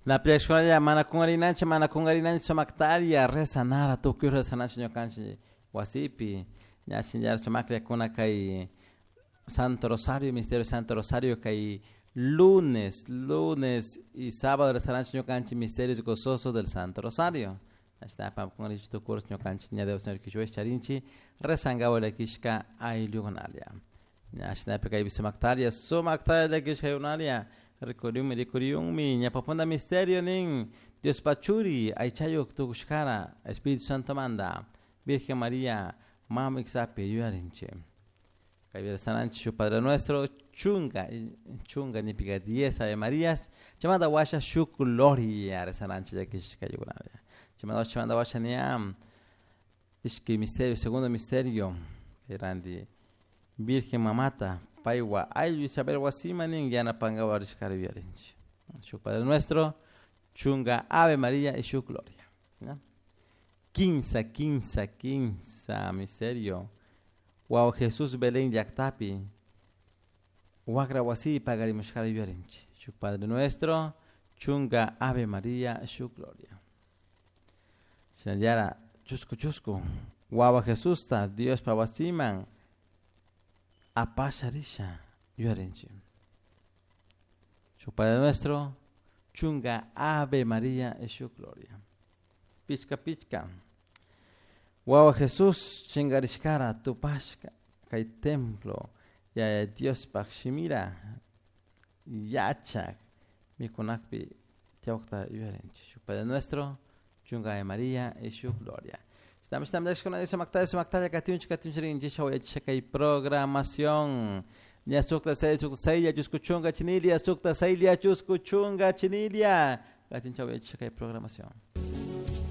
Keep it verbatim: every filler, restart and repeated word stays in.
La mana kungarinanchik mana kungarinanchik sumaktaria rezanara tukuy rezananchik ñukanchik wasipi ña shinallara sumaklla kay Santo Rosario, Misterio Santo Rosario kay lunes, lunes y sábado rezananchik ñukanchik misterios gozosos del Santo Rosario. Ashta kungarinchik tukuy ñukanchik ña Dios Señor kichwa charinchik rezangawa llakishka ayllukunalla. Ña shinapi kaypi sumaktaria sumaktaria llakishka ayllukunalla rikuriunmi rikuriunmi ñawpapunda misterio nin Dios pachuri aychayuk tukushkara Espíritu Santo manda Virgen María mama iksapi yuyarinchik. Kaypi rezananchik shuk Padre Nuestro chunga chunga nipika diez Ave Marías chaymanta washa shuk Gloria rezananchik llakishka ayllukunalla. Chaymanta chaymanta washa ña ishki misterio segundo misterio ranti Virgen mamata paywa ayllu Isabel wasima nin yanapankapak rishkara yuyarinchik. Shuk Padre Nuestro chunga Ave María y shuk Gloria. ¿Ya? Quinsa, quinsa, quinsa misterio. Wawa Jesús Belén llaktapi wakra wasipi pagarimushkara yuyarinchik. Shuk Padre Nuestro chunga Ave María shuk Gloria. Shinallara chusku chusku wawa Jesusta Diospa wasiman apasha risha yuyarinchik. Shuk Padre Nuestro chunga Ave María y shuk Gloria. Pichka pichka. Wawa Jesús chingarishkara tupashka kay templo Yaya Diospaj shimira yachak mikunakpi tiyawkta yuyarinchik. Shuk Padre Nuestro chunga Ave María y shuk Gloria. Estamos estamos con sumaktaria sumaktaria katunchik katunchik rinchik kay programación. Ña sukta seis sukta saylla chusku chunga chinilia sukta saylla chusku chunga chinilia katinchaw kay programación.